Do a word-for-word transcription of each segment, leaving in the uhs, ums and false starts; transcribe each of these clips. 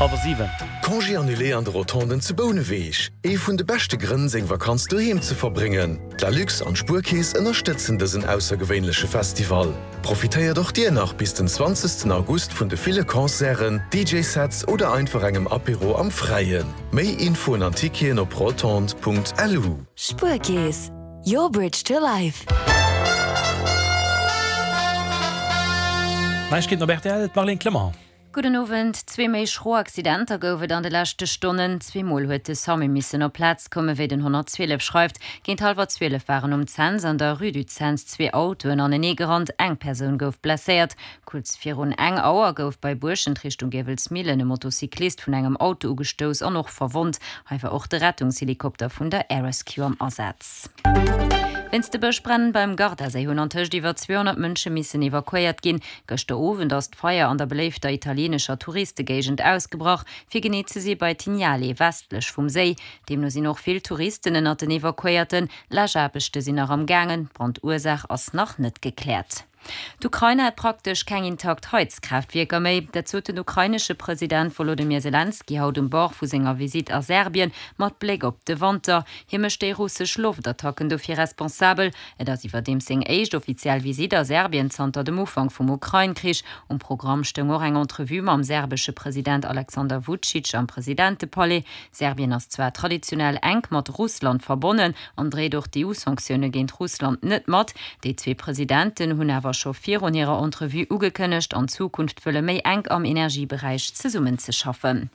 Hallwer siwen. Congé annulé an de Rotonden zu Bouneweg. Ee vun de beschte Grënn, seng Vakanz doheem ze verbréngen. D'Lalux an d'Spuerkeess ënnerstëtzen dësen aussergewéinleche Festival. Profitéiert och dir nach bis den zwanzegsten August vun de ville Concerten, D J-Sets oder einfach engem Apéro am Fräien. Méi Infoen an Ticketen op rotondes Punkt L U. Spuerkeess, your bridge to life. Neiegkeeten op R T L, d'Marlène Clement. Gudden Owend. Zwee méi schro Accidenter gouf et an de leschte Stonnen. Zweemol huet de SAMU missen op d'Plaz kommen, wéi den honnertzwielef schreift. Géint hallwer zwielef waren um Cents an der Rue du Cents zwee Autoen aneneegerannt. Eng Persoun gouf blesséiert. Kuerz virun eng Auer gouf bei Buerschent Richtung Giewelsmillen e Motocyclist vun engem Auto ugestouss an och verwonnt. Hei war och de Rettungshelikopter vun der Air Rescue am Asaz. Wéinst de Bëschbränn beim Gardaséi hunn antëscht iwwer zweehonnert Mënsche missen evakuéiert ginn. Gëschter Owend ass d'Feier an der beléifter italienescher Touristegéigend ausgebrach, fir genee ze si bei Tignale, westlech vum Séi. Deemno sinn och vill Touristen ënnert den Evakuéierten. Läschaarbechte sinn nach am gaangen, d'Brandursaach ass nach net gekläert. D'Ukrain huet praktesch keng intakt Heizkraaftwierker méi. Dat sot den ukrainesche President Wolodymyr Selenskyj haut um Bord vu senger Visitt a Serbien mat Bléck op de Wanter. Hie mécht déi russesch Loftattacken dofir responsabel. Et ass iwwerdeems seng éischt offiziell Visitt a Serbien zanter dem Ufank vum Ukrain-Krich. Um Programm stoung och eng Entrevue mam serbesche President Alexander Vučić am Presidentepalais. Serbien ass zwar traditionell enk mat Russland verbonnen an dréit och d'E U-Sanktioune géint Russland net mat. Déi zwee Presidenten hunn awer scho virun hirer Entrevue ugekënnegt, an Zukunft wëlle méi enk am Energieberäich zesummenzeschaffen.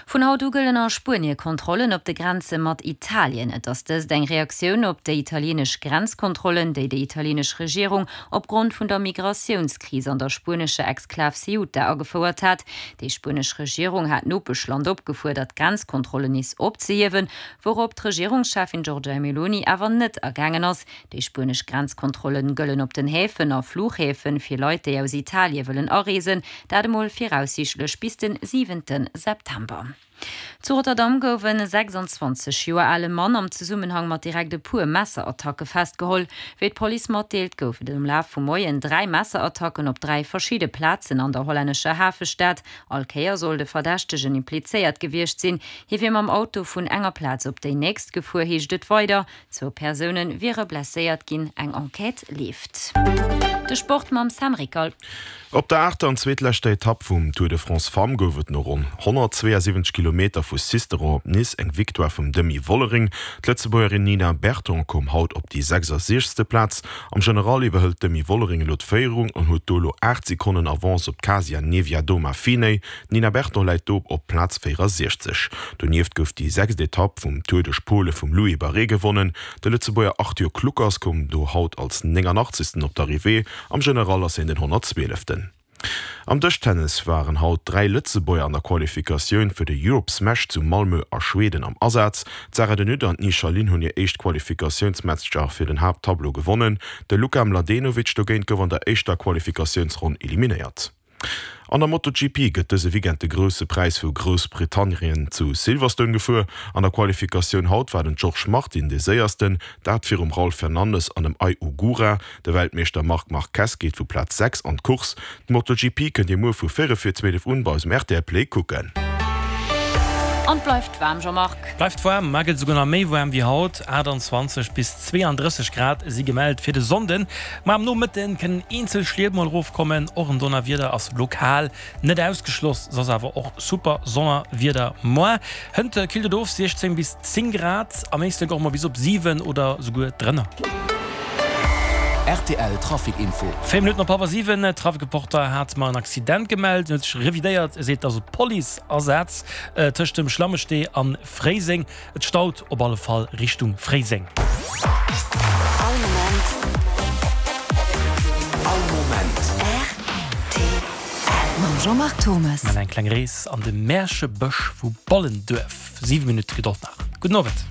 Vun haut u gëllen a Spuenie Kontrollen op de Grenze mat Italien. Et ass dëst eng Reaktioun op déi italienesch Grenzkontrollen, déi déi italienesch Regierung opgrond vun der Migratiounskris an der spuenescher Exklav Ceuta agefouert hat. Déi spuenesch Regierung hat d'Nopeschland opgefuerdert, d'Grenzkontrollen nees opzehiewen, wourop d'Regierungscheffin Giorgia Meloni awer net agaangen ass. Déi spuenesch Grenzkontrollen gëllen op den Häfen a Fluchhäfen fir Leit, déi aus Italie wëllen areesen, dat emol viraussiichtlech bis den siwente September. Zu Rotterdam gouf en sechsanzwanzeg Joer ale Mann am Zesummenhang mat direkt e puer Messerattacke festgeholl. Wéi d'Police matdeelt, gouf et am Laf vum Moien dräi Messerattacken op dräi verschidde Plazen an der hollännescher Hafestad. All Kéier soll de Verdächtegen implizéiert gewiescht sinn. Hie wier mam Auto vun enger Plaz op déi nächst gefuer, heescht et weider. Zwou Persoune wiere blesséiert ginn, eng Enquête leeft. De Sport mam Sam Rickal. Op der aachter an zweetleschter Etapp vum Tour de France Femmes gouf et no ronn honnertzweeasiwwenzeg Kilometer vu Sisteron op Nice eng Victoire vum Demi Vollering. D'Lëtzebuergerin Nina Berton koum haut op déi sechsasiechzegste Plaz. Am General iwwerhëlt d'Demi Vollering elo d'Féierung an huet do elo aacht Sekonnen Avance op d'Kasia Niewiadoma-Phinney. D'Nina Berton läit do op Plaz véierasiechzeg. Donieft gouf déi sechst Etapp vum Tour duerch Pole vum Louis Barré gewonnen. De Lëtzebuerger Arthur Kluckers koum do haut als nénganachtzegsten op d'Arrivée. Am General ass hien den honnertzwieleften. Am Dëschtennis waren haut dräi Lëtzebuerger an der Qualifikatioun fir de Europe Smash zu Malmö a Schweden am Asaz. D'Sarah de Nutte an d'Ni Xia Lian hunn hir éischt Qualifikatiounsmatcher fir den Haapttableau gewonnen. De Luka Mladenovic dogéint gouf an der éischter Qualifikatiounsronn eliminéiert. An der MotoGP gëtt dëse Weekend de Grousse Präis vu Groussbritannien zu Silverstone gefuer. An der Qualifikatioun haut war den Jorge Martin de Séiersten, dat virum Raul Fernandez an dem Ai Ogura. De Weltmeeschter Marc Marquez geet vu Plaz sechs an d'Course. D'MotoGP kënnt Dir muer vu véierel vir zwielef un bei eis um R T L Play kucken. An et bleift waarm, Jean-Marc. Bleift waarm, mar gëtt souguer nach méi waarm wéi haut. aachtanzwanzeg bis zweeandrësseg Grad si gemellt fir de Sonnden. Mar am Nomëtten kënnen eenzel Schliet mol erofkommen. Och en Donnerwieder ass lokal net ausgeschloss, soss awer och super Summerwieder muer. Hënt killt et of, siechzéng bis zéng Grad, am Éislek och mol bis op siwen oder souguer drënner. R T L Trafic Info. Véier Minutten op hallwer siwen, Trafic-Reporter hat mer en Accident gemellt, huet sech revidéiert, e seet, et ass e Police-Asaz tëscht dem Schlammestee an Fréiseng. Et staut op alle Fall Richtung Fréiseng. All Moment. All Moment. R T L. Mam Jean-Marc Thomas. Eng kleng Rees an de Märchebësch vu Bollenduerf. Siwe Minutte Gedold nach. Gudden Owend.